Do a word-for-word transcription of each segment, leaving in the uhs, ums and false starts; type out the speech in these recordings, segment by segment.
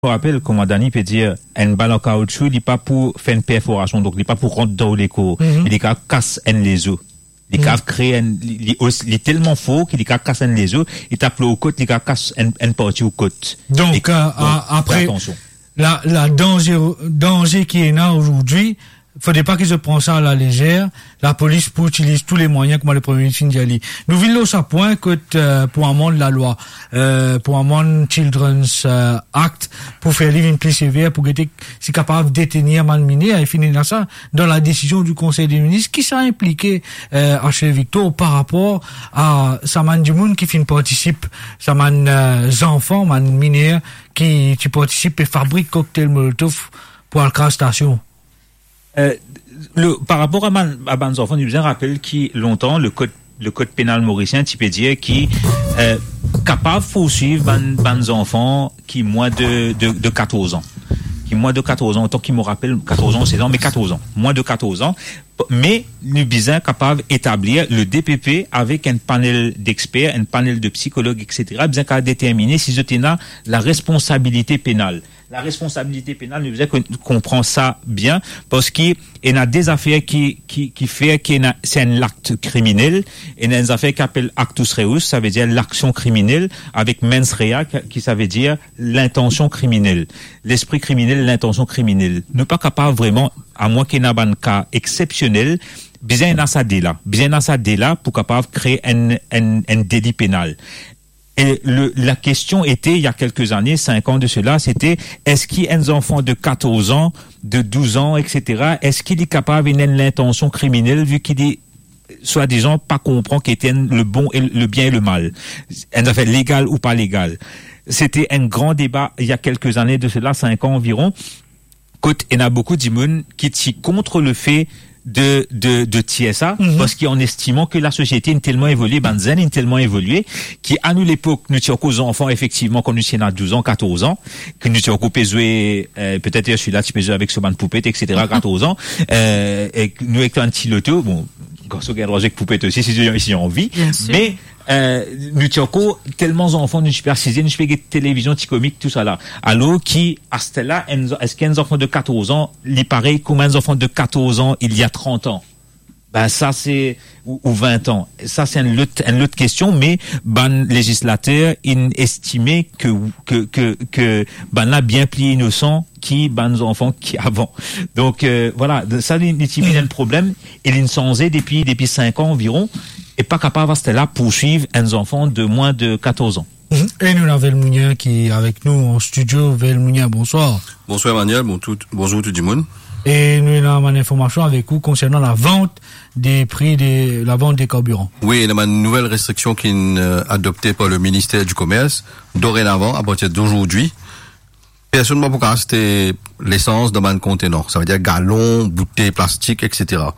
Mo rapel, kouma Dani pe dir, enn bal an kaoutchou, li pa pou fer enn perforasion, donk li pa pou rant dan ou lekor. Mhm. Li kapav kas enn lezo. Li kapav kre enn, li, li os-, li telman for ki li kapav kas enn lezo, li tap lor ou kot, li kapav kas enn, enn parti ou kot. Donk, e, euh, donk, a-, apre, fer atansion. La, la danze, danze ki ena azordi, fode pa ki zot pran sa a la lezer, lapolis pou itiliz tou le mwayin, kouma le Premie Minis finn dir li. Nou vinn lor sa pwin kot, euh, pou amann lalwa, euh, pou amann Children's, euh, Act, pou fer li vinn pli sever, pou gete si kapav detenir bann miner, e finn ena sa dan la desizion di Konsey de Minis, ki sa inplike, euh, Archie Victor par rapor a sa bann dimoun ki finn partisip, sa bann, euh, zanfan, bann miner ki, ki partisip e fabrik koktel Molotov pou al kraz stasion? Euh, le, par rapor a bann, a bann zanfan, nou bizin rapel ki lontan, le kod, le kod penal morisien ti pe dir ki, euh, kapav pourswiv bann, bann zanfan ki mwin de, de, de katorz an. Ki mwin de katorz an, otan ki mo rapel, katorz an, sez an, me katorz an. Mwin de katorz an. Me nou bizin kapav etablir le D P P avek enn panel d'experts, enn panel de psikolog, et cetera, bizin kapav determine si zot ena la responsabilite penal. La responsabilite penal, nou bizin kon-, konpran sa bien, parski ena de zafer ki, ki, ki fer ki ena, se enn lakt kriminel, ena enn zafer ki apel actus reus, savedir laksion kriminel, avek mens rea, ki, ki savedir lintansion kriminel. Lespri kriminel, lintansion kriminel. Nou pa kapav vreman, amwin ki ena bann ka exsepsionel, bizin ena sa de la. Bizin ena sa de la pou kapav kre enn, enn, enn deli penal. E le, la kestion ete, il y a quelques années, cinq ans de cela, sete, eski enn zanfan de katorz an, de douz an, et cetera, eski li kapav ena enn lintansion kriminel, vi ki li, swadizan, pa konpran ki ete enn, le bon e le bien e le mal? Enn zafer legal ou pa legal? Sete enn gran deba, il y a quelques années de cela, cinq ans environ. Kot ena boukou dimoun ki ti kont lefe de, de, de tir sa, mhm, parski an estiman ke lasosiete inn telman evolie, bann zenn inn telman evolie, ki a nou lepok, nou ti ankor zanfan, efektivman, kan nou ti ena douz an, katorz an, ke nou ti ankor pe zwe, euh, petet Ursula ti pe zwe avek so bann poupet, et cetera, katorz an, euh, e nou ek enn ti loto, bon, garson gagn drwa zwe ek poupet osi, si, si anvi, bien sir, me euh, nou ti ankor telman zanfan, nou ti pe asize, nou ti pe get televizion, ti komik, tousala. Alor ki, asterla, enn, eski enn zanfan de katorz an, li parey kouma enn zanfan de katorz an, il y a trente ans? Ben, sa se, ou, ou vin an. Sa se enn lot, enn lot kestion, me bann lezislater inn estime ke, ke, ke, ke bann la bien pli inosan ki bann zanfan ki avan. Donk, euh, vwala, sa li, li ti vinn enn problem, e linn sanze depi, depi cinq ans environ, e pa kapav asterla pourswiv enn zanfan de mwin de katorz an. Mhm. E nou ena Velmounien ki avek nou an stidio. Velmounien, bonswar. Bonswar Emmanuel, bon, tout, bonzour tou dimoun. E nou ena bann informasion avek ou konsernan lavant de pri de, lavant de karbiran. Wi, ena bann nouvel restriksion ki'nn, euh, adopte par le Ministère du Commerce. Dorenavan, à partir d'aujourd'hui, personn pa pou kapav aste lesans dan bann kontener, savedir galon, boutey plastik, et cetera.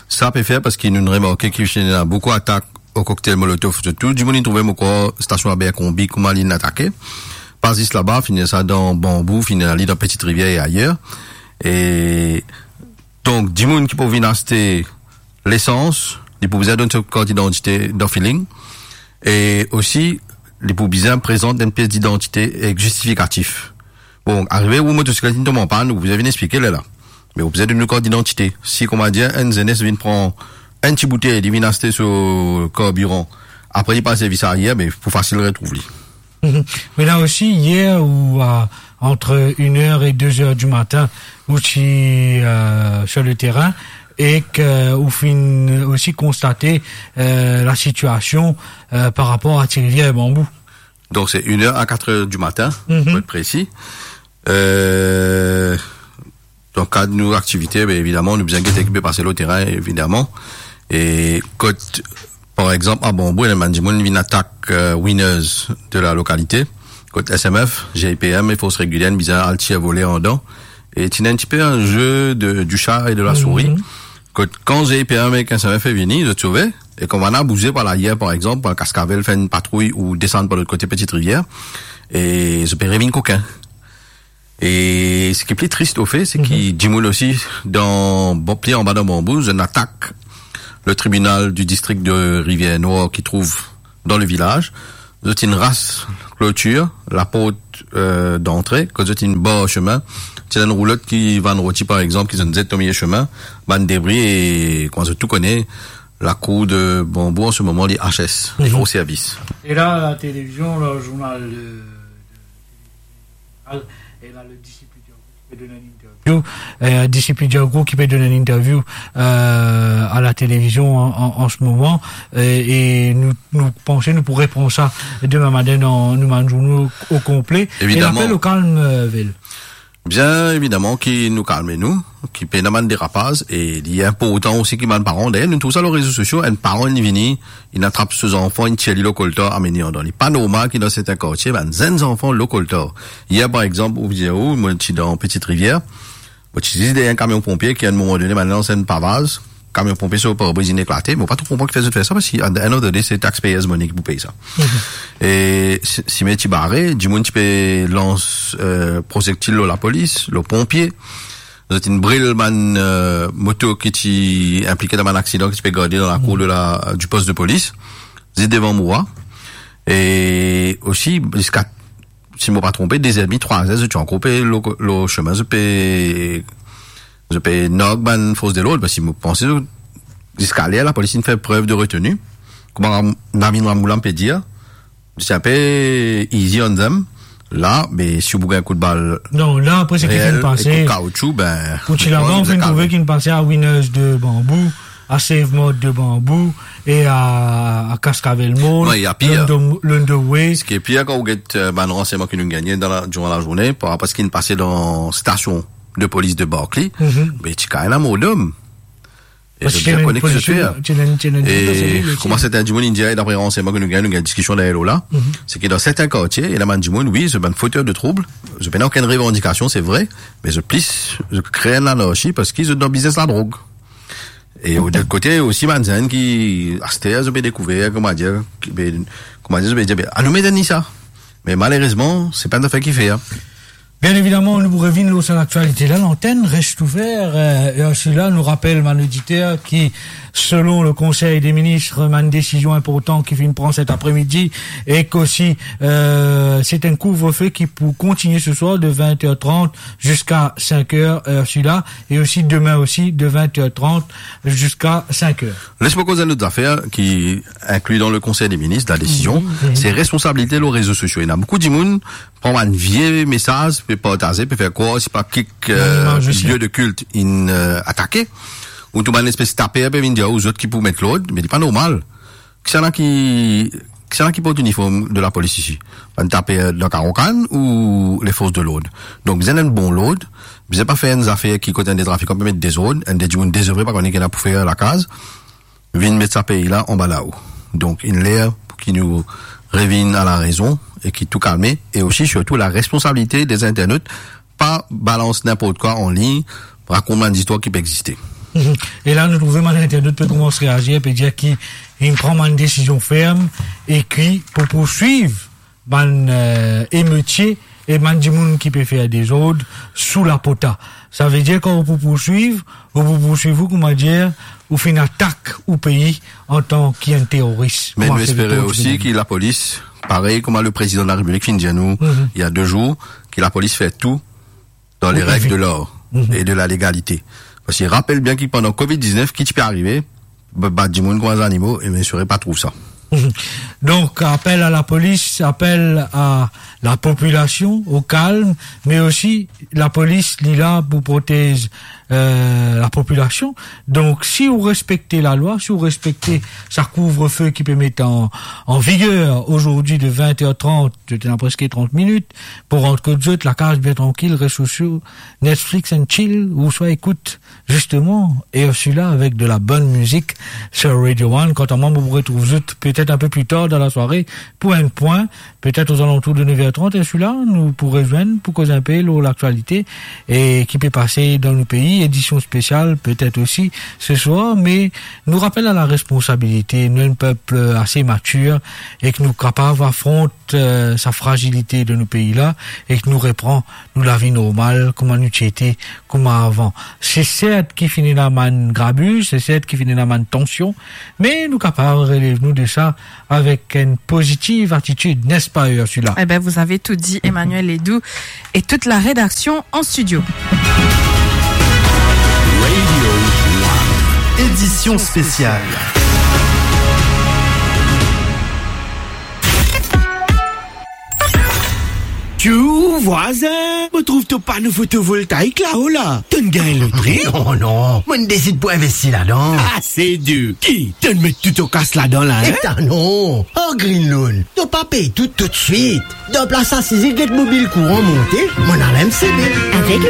Sa pe fer parski nou remarke ki finn ena boukou atak o koktel Molotov, sirtou dimoun inn trouve mo krwar stasion Abercrombie, kouma linn atake. Pa zis laba, finn ena sa dan Banbou, finn ena li dan Petite Rivière e ayer. E donk, dimoun ki pou vinn aste lesans, li pou bizin donn so kart idantite dan feeling. E osi, li pou bizin prezant enn pies didantite ek zistifikatif. Bon, arive ou motosiklet inn tom an pann, ou pou bizin vinn explike lerla. Me ou pou bizin donn nou kart didantite. Si, kouma dir, enn zenes vinn pran enn ti boutey, li vinn aste so karbiran, apre li pa servi sa ayer, be pou fasil retrouv li. Mhm. Me la osi, yer ou, euh, entre une heure et deux heures du matin, ou ti, euh, sur le terrain, e ke ou finn osi konstate, euh, lasitiasion, euh, par rapor a Ti Rivière e Banbou. Donk, se une heure à quatre heures du matin, mhm, pou et presi. Euh, dan kad nou aktivite, be, evidaman, nou bizin gete ki pe pase lor terin, evidaman. E kot, par exanp, a Banbou, ena bann dimoun vinn atak, euh, winners de la localité. Kot S M F, G I P M e Forces Régulières bizin al tir vole andan. E ti ena enn tipe enn jeu de, du chat et de la souris. Mhm. Kot kan G I P M ek S M F vini, zot sove. E kan bann la bouze par layer, par exanp, Kaskavel fer enn patrouy ou desann par lot kote Petite Rivière, e zot pe revinn kokin. E seki pli tris ofe, se ki, mhm, dimoun osi dan, bon, pli anba dan Banbou, zot inn atak le tribinal du district de Rivière-Noire ki trouv dan le vilaz. Zot inn ras klotir, laport, eh, dantre, kot zot inn bar sime. Ti ena enn roulot ki vann roti, par exanp, ki zot inn zet lor miliye sime, bann debri e, kouma zot tou kone, lakour de Banbou an se moman li H S, Mhm. o servis. E la, la televizion, le zournal de, de, e la, le disip Diago ki pe donn enn interview, eh, disip Diago ki pe donn enn interview, eh, a la televizion an, an, an se moman, eh, e nou, nou panse nou pou repran sa demin matin dan nou bann zourno o konple. Evidaman. E lapel o kalm, eh, Vel. Bien evidaman ki nou kalme nou, ki pena bann derapaz, e li inportan osi ki bann paran. Dayer, nou trouv sa lor rezo sosio, enn paran, li vini, li atrap so zanfan, li tir li lor koltar, amenn li andan. Li pa normal ki dan sertin kartie, bann zenn zanfan lor koltar. Yer, par exanp, ou dir ou, mo ti dan Petite Rivière, mo ti zis deryer enn kamion ponpie ki, a enn moman done, bann lans enn pavaz, kamion ponpie so parbriz inn eklate, mo pa tro konpran kifer zot fer sa, parski at the end of the day, se taxpayers money ki pou pey sa. Mhm. E si, sime ti bare, dimoun ti pe lans, eh, prozektil lor lapolis, lor ponpie. Zot inn bril bann, eh, moto ki ti inplike dan bann aksidan ki ti pe gade dan lakour de la, du post de polis, zis devan mo. E osi, ziska, si mo pa tronpe, de zer edmi, trwa zer, zot ti ankor pe lor, lor sime, zot pe, zot pe narg bann fors de lord, parski mo panse, ziska ler, lapolis inn fer prev de reteni. Kouma Ram-, Navin Ramgoolam pe dir, se inpe easy on them. La, be, si ou pou gagn kout bal Non, la, apre seki reel finn e pase, kout kaoutchou, be, pou ti laban, ou finn trouve kinn pase a Winners de Banbou, a Save Mart de Banbou, e a, a Cascavelle Mall, Non, il y a pire. London, London Way. Seki pir, kan ou get, eh, bann ransegnman ki nou gagne dan la, diran lazourne, par rapor a seki finn pase dan stasion de polis de Berkeley, Mhm. be, ti kapav ena mor dom. E Parski zot bien kone ki zot fer. Ti ena enn, ti ena enn, ti ena enn, E ti ena enn, kouma sertin dimoun inn dir, dapre ransegnman ki nou gagn, nou gagn diskision dayer lor la, Mhm. seki dan sertin kartie, ena bann dimoun, wi, zot bann foter de troub, zot pena okenn revandikasion, se vre, me zot plis, zot kre enn lanarsi parski zot dan biznes ladrog. E lot kote, osi bann zenn ki, aster, zot pe dekouver, kouma dir, ki pe, kouma dir, zot pe dir, be, anou met enn lisa. Me malerezman, se pa enn zafer ki fer, a. Bien evidaman, nou pou revinn lor sa laktialite la, lantenn res ouver, eh, e answit la, nou rapel bann oditer ki, selon le Conseil des ministres, bann desizion inportan ki finn pran set apremidi, e ki osi, eh, se enn kouvrefe ki pou kontigne se swar de vin er trant ziska sink er, eh, answit la, e osi demin osi de vin er trant ziska sink er. Les mo koz enn lot zafer ki inkli dan le Conseil des ministres, la desizion, Mhm, mhm. se responsabilite lor rezo sosio. Ena boukou dimoun pran bann vie mesaz, pe partaze, pe fer krwar, se pa kik, Bann eh, imaz osi. Lie de kilt inn, eh, atake. Ou tou bann espes taper pe vinn dir, ou zot ki pou met lord, me li pa normal. Kisannla ki, kisannla ki port iniform de lapolis isi? Bann taper dan Karokan ou lefors de lord? Donk, bizin enn bon lord, bizin pa fer enn zafer ki kot enn de trafikan pe met dezord, enn de dimoun dezevre pa kone ki ena pou fer lakaz, vinn met sa pei la anba lao. Donk, inn ler pou ki nou revinn a larezon e ki tou kalme, e osi, sirtou, la responsabilite de zinternot, pa balans ninport kwa an lign, rakont bann zistwar ki pa existe. Mhm. E la, nou trouve bann zinternot pe koumans reazir, pe dir ki inn pran bann desizion ferm e ki pou pourswiv bann, eh, emetie e bann dimoun ki pe fer dezord sou lapota. Savedir, kan ou pou pourswiv, ou pou pourswiv ou, kouma dir, ou finn atak ou pei antan ki enn teroris. Me nou espere osi ki lapolis, parey kouma le prezidan de la Repiblik finn dir nou, Mhm. il y a deux jours, ki lapolis fer tou dan le reg de l'ar e de la legalite. Parski rapel bien ki pandan covid diznef, ki ti pe arive, ba-, bat dimoun kouma zanimo, e mo espere pa trouv sa. Mhm. Donk, apel a lapolis, apel a lapopilasion o kalm, me osi lapolis, li la pou protez, eh, lapopilasion. Donk, si ou respekte lalwa, si ou respekte sa kouvrefe ki pe met an, an viger azordi de vin er trant, zot ena preske trant minit pou rant kot zot, lakaz bien trankil, rezo sosio, Netflix and chill, ouswa ekout zisteman, e osi la avek de la bonn mizik sur Radio One. Kanta mwa, mo pou retrouv zot petet inpe pli tar dan lasware pou enn pwin, petet ozalantour de nef er trant, e osi la, nou pou rezwenn pou koz inpe lor laktialite e ki pe pase dan nou pei, edision spesial petet osi se swar, me nou rapel a la responsabilite, nou enn pep, eh, ase matir e ki nou kapav afront, eh, sa frazilite de nou pei la e ki nou repran nou lavi normal, kouma nou ti ete, kouma avan. Se sert ki finn ena bann grabiz, se sert ki finn ena bann tansion, me nou kapav relev nou de sa avec une positive attitude, n'est-ce pas, Ursula ? Eh ben, vous avez tout dit, Emmanuel Ledoux et toute la rédaction en studio. Radio One. Édition spéciale. Tchou, vwazin, mo trouv to pano fotovoltaik lao la. To'nn gagn lotri? Non, non, mo'nn desid pou investi ladan. Ah, se dir. Ki? To'nn met tou to kas ladan la, hein? Eta non, ar Green Loan, to pa pey tou toutswit. Dan plas asize get mo bil kouran monte, mo'nn al M C B. Avec